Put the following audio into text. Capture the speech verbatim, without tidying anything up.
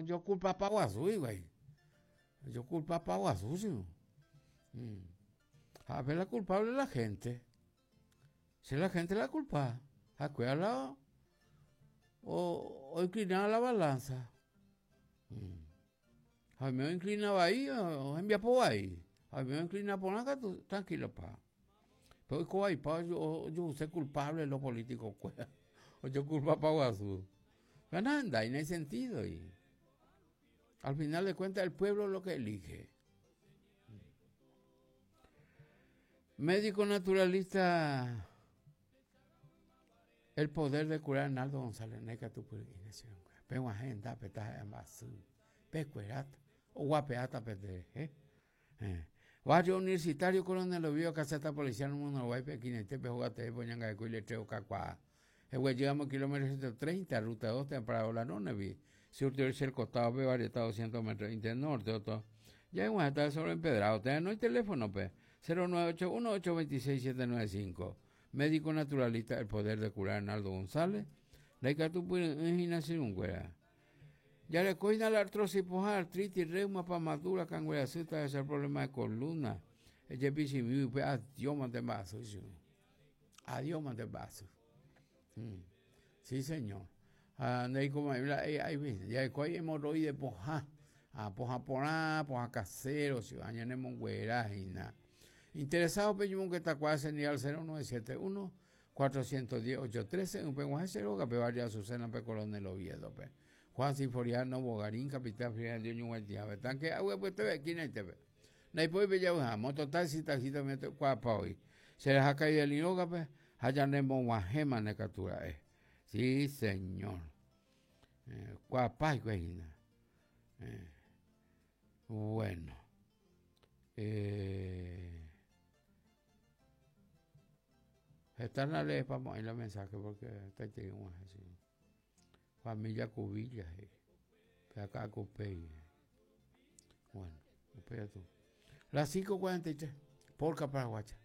Yo culpa pa guasu, güey. Yo culpa pa guasu, sí. Mm. A ver, la culpable es la gente. Si la gente la culpa. Acuérdalo. O, o inclinaba la balanza. Mm. A mí me inclinaba ahí, o envía por ahí. A mí me inclinaba por acá, tú, tranquilo, pa. Pero ahí, pa, yo, yo soy culpable de los políticos, pues. O yo culpa pa guasu. Pero nada, no hay sentido. Y al final de cuentas, el pueblo es lo que elige. Médico naturalista, el poder de curar Arnaldo González Neca, tu pero agenda, peta, pecuerata, o guapeata, pete, eh. Barrio Universitario Coronel Oviedo, caseta policial, número nueve, Quinete, Pejogate, Poñanga, Cuile, Treo, Cacuá. Llegamos kilómetro ciento treinta, ruta dos, temprano, la nueve, sur de el costado, pe, varietado doscientos metros, internorte, otro. Ya en está sobre empedrado, no hay teléfono, pe. cero nueve ocho uno, ocho dos seis, siete nueve cinco. Médico naturalista, el poder de curar Arnaldo González. La un. Ya le coina la artrosis, poja, artritis, reuma, pamadura, cangueracita, ese es el problema de columna. El pues, adiós, mante vaso. Adiós, mante vaso. Sí, señor. Ah, como ya hay hemorroide, poja, poja porá, poja casero, si vayan monguerajina. Interesado, peñumón que está cuasi ni al cero nueve siete uno, cuatrocientos diez, ocho trece, un penguaje cero, que pe barrio Azucena, pe Coronel Oviedo, pe. Juan Sinforiano, Bogarín, Capital Fría, Dios, Ñuguaytía, pe. Tanque, agua, pues te ve, aquí no te ve. Naipoy, pe, ya, uja, mototaxi, taxista, me te, cuapa hoy. Se les ha caído el yoga, pe, hayanemo guajema, necatura, eh. Sí, señor. Eh, cuapa, güey, eh. Bueno. Eh. Están la ley, vamos a ir al mensaje porque está teniendo así. Familia Cubilla, eh. Acá Cupey. Bueno, espera tú. Las cinco cuarenta y tres, Polka Paraguaya.